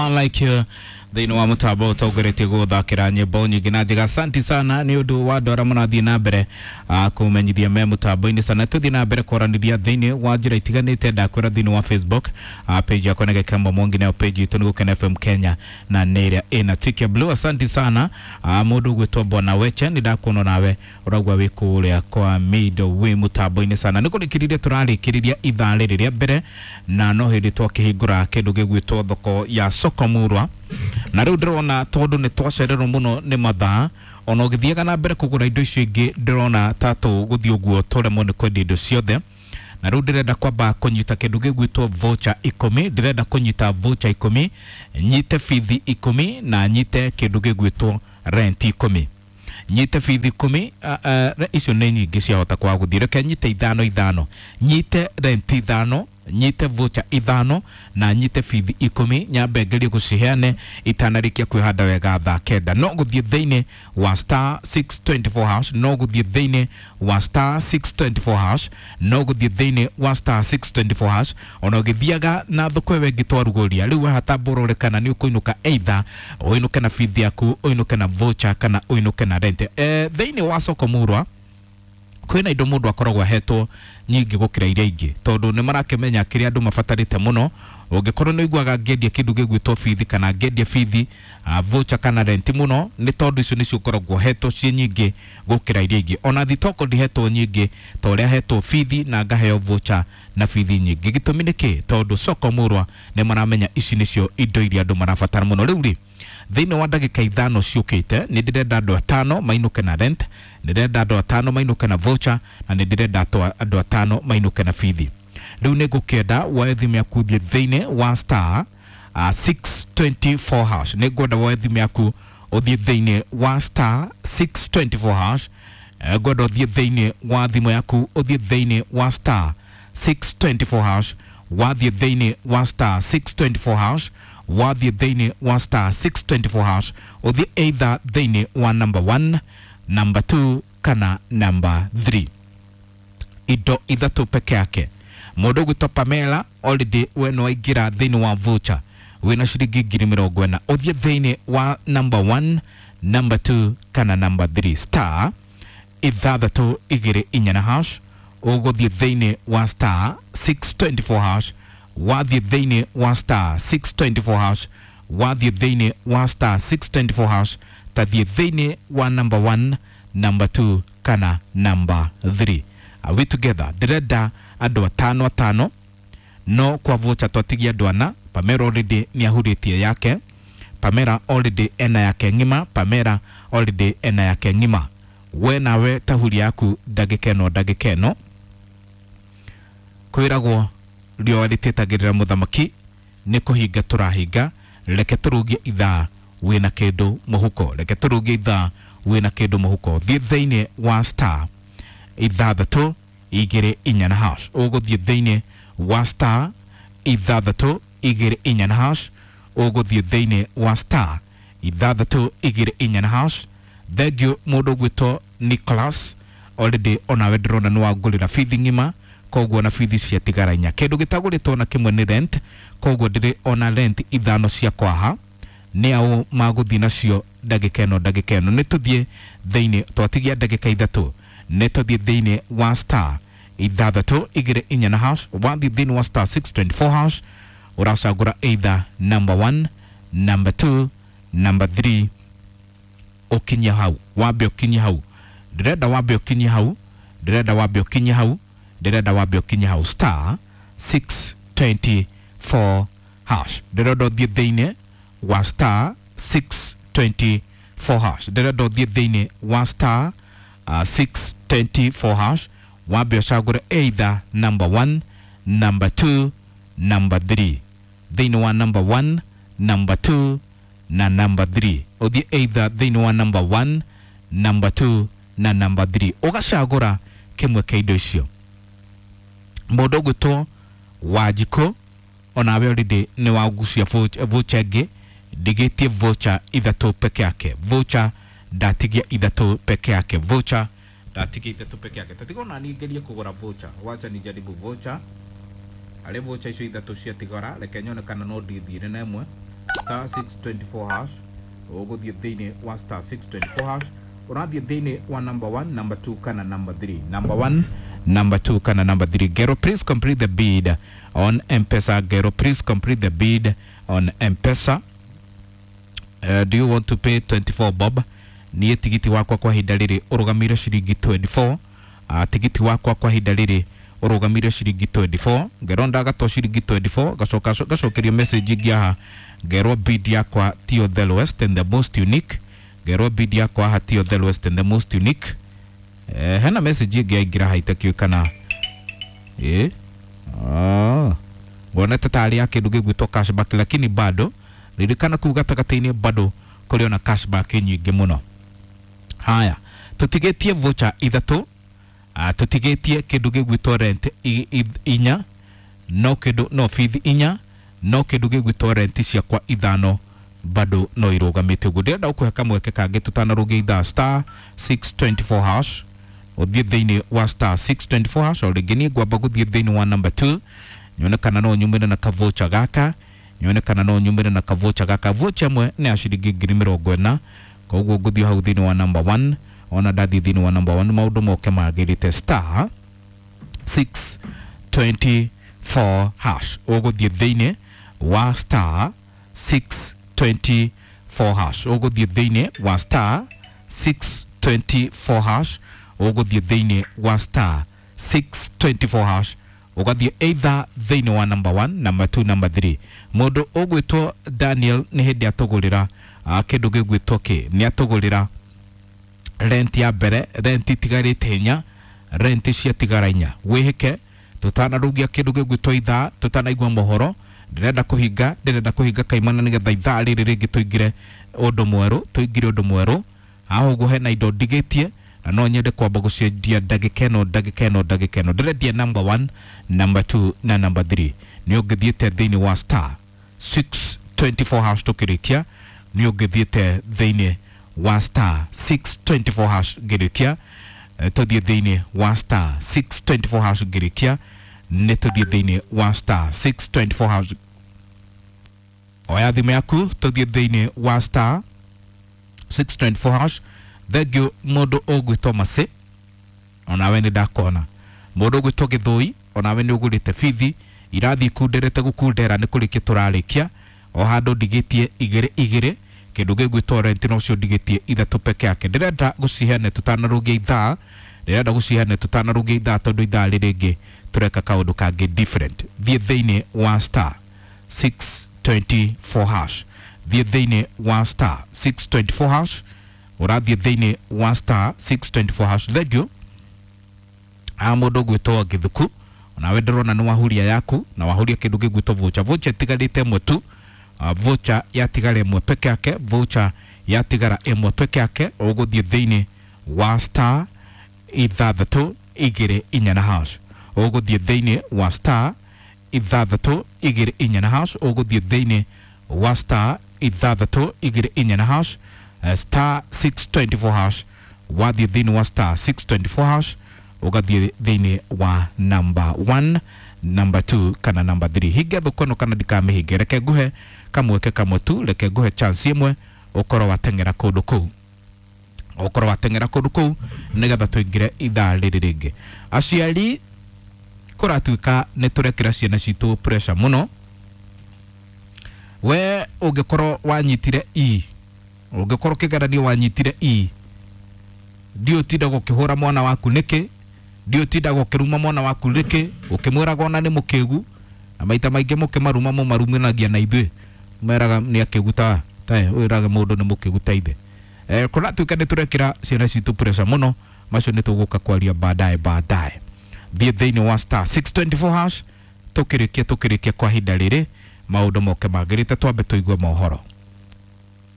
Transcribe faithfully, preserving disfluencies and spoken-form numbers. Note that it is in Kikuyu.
Man Like You thĩinĩ wa mũtambo ũtongoretie gũthakĩra nyĩmbo nyingĩ na njega. Asanti sana nĩ ũndũ wa andũ arĩa marathiĩ na mbere ah, kũmenyithia me mũtambo-inĩ sana. Tũthiĩ na mbere kwaranĩria thĩinĩ wa njĩra itiganĩte. Ndakwĩra thĩinĩ wa Facebook ah, page yakwa nĩ Gĩkembo Mwangi, nayo page itũ nĩ Gũkena F M Kenya na nĩ ĩrĩa ĩna tick ya blue. Asanti sana ah, mũndũ ũgwĩtwo Bwana Weche, nĩ ndakuona nawe ũraigua wĩ kũrĩa kwa Mido wĩ mũtambo-inĩ sana. Nĩ kũrĩkĩrĩria tũrarĩkĩrĩria ithaa rĩrĩ rĩa mbere, na no hĩndĩ twakĩhingũra kĩndũ gĩgwĩtwo thoko ya Soko Murwa, na rĩu ndĩrona tondũ nĩ twacererwo mũno nĩ mathaa, ona ũgĩthiaga na mbere kũgũra indo icio ingĩ ndĩrona ta tũgũthiĩ ũguo tũremwo nĩ kwendia indo ciothe. Na rĩu ndĩrenda kwamba kũnyita kĩndũ gĩgwĩtwo voucher ikũmi, ndĩrenda kũnyita voucher ikũmi, nyite bithi ikũmi na nyite kĩndũ gĩgwĩtwo rent ikũmi, nyite bithi ikũmi. uh, uh, icio nĩ nyingĩ ciahota kwaga gũthiĩ, reke nyite ithano ithano, nyite rent ithano, nyite voucher ithano na nyite bithi ikũmi, nyambe ngerie gũciheane itanarĩkia kwĩhanda wega thaa kenda. No gũthiĩ thĩinĩ wa star six twenty-four hash, no gũthiĩ thĩinĩ wa star six twenty-four hash, no gũthiĩ thĩinĩ wa star six twenty-four hash. Ona ũgĩthiaga na thoko ĩyo ĩngĩ twarugũria rĩu haha, kana nĩ ũkũinũka, either ũinũke na bithi yaku, ũinũke na voucher kana ũinũke na rent. Eh, thĩinĩ wa Soko Murwa kwĩna indo mũndũ akoragwo ahetwo nyingĩ gũkĩra iria ingĩ, tondũ nĩ marakĩmenya kĩrĩa andũ mabatarĩte mũno. Ũngĩkorwo nĩ ũiguaga ngĩendia kĩndũ gĩgwĩtwo bithi kana ngĩendia bithi, uh, voucher kana rent mũno, nĩ tondũ icio nĩcio ũkoragwo hetwo ciĩ nyingĩ gũkĩra iria ingĩ. Ona thitoko ndihetwo nyingĩ ta ũrĩa hetwo bithi na ngaheo voucher na bithi nyingĩ. Gĩtũmi nĩ kĩ? Tondũ Soko Murwa nĩ maramenya ici nĩcio indo iria andũ marabatara mũno. Rĩu rĩ, thĩinĩ wa ndagĩka ithano ciũkĩte nĩ ndĩrenda andũ atano mainũke na rent, nĩ ndĩrenda andũ atano mainũke na voucher na nĩ ndĩrenda andũ atano mainũke na bithi. Rĩu nĩ ngũkĩenda woe thimũ yaku ũthiĩ thĩinĩ wa star uh, six twenty-four hash. Nĩ ngwenda woe thimũ yaku ũthiĩ thĩinĩ wa star six twenty-four hash. Ngwenda ũthiĩ thĩinĩ wa thimũ yaku ũthiĩ thĩinĩ wa star six twenty-four hash. Wathiĩ thĩinĩ wa star six twenty-four hash, wathiĩ thĩinĩ wa star six twenty-four hash, ũthiĩ either thĩinĩ wa number one, number two kana number three. Indo ithatũ peke yake. Mũndũ ũgwĩtwo Pamela already we nĩ waingĩra thĩinĩ wa voucher wĩna ciringi ngiri mĩrongo ĩna, ũthiĩ thĩinĩ wa number one, number two kana number three. Star ithathatũ igĩrĩ inya na hash, ũgũthiĩ thĩinĩ wa star six twenty-four hash, wathiĩ thĩinĩ wa star six twenty-four hash, wathiĩ thĩinĩ wa star six twenty-four hash, tathiĩ thĩinĩ wa number one, number two kana number three. Are we together? Ndĩrenda andũ atano atano, no kwa voucher twatigia andũ ana. Pamela already nĩ ahurĩtie yake, Pamela already ena yake ng'ima, Pamela already ena yake ng'ima. We nawe tahuri yaku ndagĩka ĩno ndagĩka ĩno kwĩragwo riũa rĩtĩtagĩrĩra mũthamaki, nĩ kũhinga tũrahinga. Reke tũrũgie ithaa wĩna kĩndũ mũhuko, reke tũrũgie ithaa wĩna kĩndũ mũhuko. Thiĩ thĩinĩ wa star ithathatũ igĩrĩ inya na hash, ũgũthiĩ thĩinĩ wa star ithathatũ igĩrĩ inya na hash, ũgũthiĩ thĩinĩ wa star ithathatũ igĩrĩ inya na hash. Thank you mũndũ ũgwĩtwo Nicholas, already onawe ndĩrona nĩ wangũrĩra bithi ng'ima, koguo na bithi ciatigara inya. Kĩndũ gĩtagũrĩtwo na kĩmwe nĩ rent, koguo ndĩrĩ ona rent ithano cia kwaha nĩ ao magũthiĩ nacio ndagĩka ĩno ndagĩka ĩno. Nĩ tũthiĩ thĩinĩ, twatigia ndagĩka ithatũ, nĩ tũthiĩ thĩinĩ wa star ithathatũ igĩrĩ inya na hash. Wathiĩ thĩinĩ wa star six twenty-four hash, ũracagũra either number one, number two, number three, ũkinye hau, wambe ũkinye hau. Ndĩrenda wambe ũkinye hau, ndĩrenda wambe ũkinye hau, ndĩrenda wambe ũkinye hau star six twenty-four hash. Ndĩrenda ũthiĩ thĩinĩ wa star six twenty-four hash, ndĩrenda ũthiĩ thĩinĩ wa star uh, six twenty-four hash, wambe ũcagũre either number one, number two, number three. Thĩinĩ wa number one, number two na number three, ũthiĩ either thĩinĩ wa number one, number two na number three, ũgacagũra kĩmwe kĩa indo icio. Mũndũ ũgwĩtwo Wanjikũ onawe already nĩ wagucia voucher ĩngĩ, ndigĩtie voucher ithatũ peke yake, voucher ndatigia ithatũ peke yake, voucher ndatigia ithatũ peke yake. Tatiga ona niĩ ngerie kũgũra voucher, wacha nijaribu voucher, harĩ voucher icio ithatũ ciatigara, reke nyone kana no ndithire na ĩmwe. star six twenty-four hash ũgũthiĩ thĩinĩ wa star six twenty-four hash ũrathiĩ thĩinĩ wa number one, number two kana number three. Number one, number two kana number three. Gero, please complete the bid on M-Pesa. Gero, please complete the bid on M-Pesa. Uh, do you want to pay twenty-four bob? Niĩ tigiti wakwa kwa ihinda rĩrĩ ũrũgamĩire ciringi twenty-four. Uh, tigiti wakwa kwa ihinda rĩrĩ ũrũgamĩire ciringi twenty-four. Ngero ndagatwo ciringi twenty-four gacoka gacokerio message ingĩ haha ngerwo bid yakwa tiyo the lowest and the most unique. Ngerwo bid yakwa haha tiyo the lowest and the most unique. Eh, hena message ingĩ yaingĩra haha itakĩũĩ kana eh ah wonete tarĩ ya kĩndũ gĩgwĩtwo cashback, lakini bado ririkana kuu gatagatĩ-inĩ bado kũrĩ ona cashback nyingĩ mũno. Haya, tũtigĩtie voucher ithatũ, ah, tũtigĩtie kĩndũ gĩgwĩtwo rent i, i, inya, no kĩndũ no fees inya, no kĩndũ gĩgwĩtwo rent ciakwa ithano bado no irũgamĩte ũguo. Ndĩrenda gũkũhe kamweke kangĩ tũtanarũgia ithaa star six twenty-four hash ũthiĩ thĩinĩ wa star six twenty-four hash. O rĩngĩ niĩ ngwamba gũthiĩ thĩinĩ wa number two nyone kana no nyumĩre na kavocha gaka, nyone kana no nyumĩre na kavocha gaka. Vocha ĩmwe nĩ ya ciringi ngiri mĩrongo ĩna, koguo ngũthiĩ hau thĩinĩ wa number one. Ona ndathiĩ thĩinĩ wa number one maũndũ moke magĩrĩte star six twenty-four hash. Ũgũthiĩ thĩinĩ wa star six twenty-four hash, ũgũthiĩ thĩinĩ wa star six twenty-four hash, ũgũthiĩ thĩinĩ wa star six twenty-four hash, ũgathiĩ either thĩinĩ wa number one, number two, number three. Mũndũ ũgwĩtwo Daniel nĩ hĩndĩ atũgũrĩra uh, kĩndũ gĩgwĩtwo kĩ, nĩ atũgũrĩra rent ya mbere, rent itigarĩte inya, rent ciatigara inya. Wĩhĩke tũtanarũgia kĩndũ gĩgwĩtwo ithaa, tũtanaigua mohoro. Ndĩrenda kũhinga, ndĩrenda kũhinga kaimana nĩgetha ithaa rĩrĩ rĩngĩ tũingĩre ũndũ mwerũ, tũingĩre ũndũ mwerũ. Haha ũguo hena indo ndigĩtie na no nyende kwamba gũciendia ndagĩka ĩno, ndagĩka ĩno, ndagĩka ĩno. Ndĩrendia number one, number two na number three. Nĩ ũngĩthiĩte thĩinĩ wa star six twenty-four hash tũkĩrĩkia, nĩ ũngĩthiĩte thĩinĩ wa star six twenty-four hash ngĩrĩkia, tũthiĩ thĩinĩ wa star six twenty-four hash ngĩrĩkia, nĩ tũthiĩ thĩinĩ wa star six twenty-four hash. Oya thimũ yaku tũthiĩ thĩinĩ wa star six twenty-four hash. Thengiũ mũndũ ũgwĩtwo Masĩ, onawe nĩ ndakona. Mũndũ ũgwĩtwo Gĩthũi, onawe nĩ ũgũrĩte bithi, irathiĩ ikunderete gũkundera nĩ kũrĩkia tũrarĩkia. O handũ ndigĩtie igĩrĩ igĩrĩ, kĩndũ gĩgwĩtwo rent nocio ndigĩtie ithatũ peke yake. Ndĩrenda gũciheana tũtanarũgia ithaa, ndĩrenda gũciheana tũtanarũgia ithaa tondũ ithaa rĩrĩ rĩngĩ tũreka kaũndũ kangĩ different. Thiĩ thĩinĩ wa star six twenty-four hash, thiĩ thĩinĩ wa star six twenty-four hash, ũrathiĩ thĩinĩ wa star six twenty-four hash. Thengiũ a mũndũ ũgwĩtwo Gĩthuku, onawe ndĩrona nĩ wahuria yaku na wahuria kĩndũ gĩgwĩtwo voucher. Voucher ĩtigarĩte ĩmwe tu, uh, voucher yatigara ĩmwe peke yake, voucher yatigara ĩmwe peke yake. Ũgũthiĩ thĩinĩ wa star ithathatũ igĩrĩ inya na hash, ũgũthiĩ thĩinĩ wa star ithathatũ igĩrĩ inya na hash, ũgũthiĩ thĩinĩ wa star ithathatũ igĩrĩ inya na hash, uh, star six twenty-four hash. Wathiĩ thĩinĩ wa star six twenty-four hash ũgathiĩ thĩinĩ wa number one, number two kana number three. Hinge thoko ĩno kana ndikamĩhinge, reke nguhe kamweke kamwe tu, reke nguhe chance ĩmwe ũkorwo wateng'era kũndũ kũu, ũkorwo wateng'era kũndũ kũu nĩgetha tũingĩre ithaa rĩrĩ rĩngĩ. Aciari kũratuĩka nĩ tũrekĩra ciana citũ pressure mũno. We ũngĩkorwo wanyitire E, ũngĩkorwo kĩgeranio wanyitire E, ndiũ ũtindaga ũkĩhũra mwana waku nĩkĩ, ndiũ ũtindaga ũkĩruma mwana waku nĩkĩ, ũkĩmwĩraga ona nĩ mũkĩgu, na maita maingĩ mũkĩmaruma mũmarumanagia na ithuĩ, meraga nĩ akĩgu ta ta wĩraga mũndũ nĩ mũkĩgu ta ithe. Eh, kũratuĩka nĩ tũrekĩra ciana citũ pressure mũno, macio nĩ tũgũka kwaria baadaye baadaye. Thiĩ thĩinĩ wa star six twenty-four hash tũkĩrĩkia tũkĩrĩkia kwa ihinda rĩrĩ maũndũ moke magĩrĩte, twambe tũigue mohoro.